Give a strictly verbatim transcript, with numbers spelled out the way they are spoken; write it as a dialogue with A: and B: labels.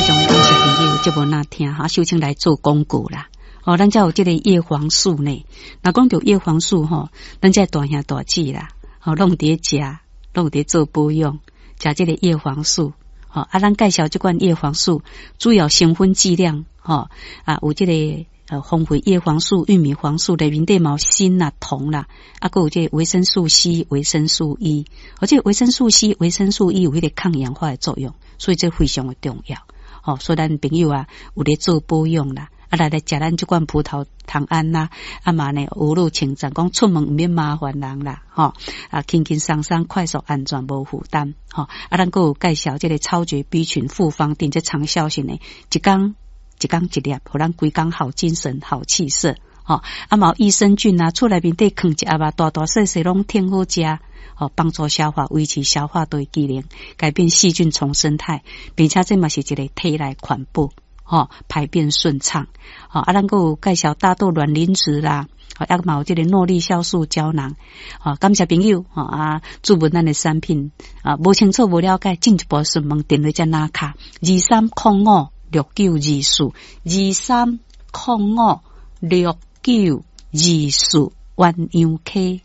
A: 非常感謝朋友節目若聽哈，首先來做廣告啦。哦，咱遮有這個葉黃素呢。若講著葉黃素吼，咱遮大兄大姊啦，吼，攏佇咧食，攏佇咧做保養，食這個葉黃素。吼，啊，咱介紹這款葉黃素，主要成分劑量，吼，啊，有這個呃豐富葉黃素、玉米黃素內面底嘛有鋅啦、銅啦，啊，閣有這個維生素 C、維生素 E。而這維生素 C、維生素 E 有彼個抗氧化的作用，所以這非常的重要。吼，所以咱朋友啊，有咧做保養啦，啊來來食咱這款葡萄糖胺啦，啊嘛呢，無路稱讚，講出門毋免麻煩人啦，吼，啊輕輕鬆鬆、快速、安全、無負擔，吼，啊咱閣有介紹這個超絕 B 群複方錠，這長效性的，一工一工一粒，予咱規工好精神、好氣色，吼，啊嘛有益生菌啊，厝內面底囥一盒啊，大大細細攏挺好食。吼，幫助消化，維持消化道機能，改變細菌叢生態，並且這嘛是一個體內環保，吼，排便順暢。吼，啊，咱閣有介紹大豆卵磷脂啦，啊，嘛有這個諾麗酵素膠囊。吼，感謝朋友，吼啊，注文咱的產品啊，無清楚無了解，進一步詢問電話遮拿卡二三空五六九二四二三空五六九二四鴛鴦溪。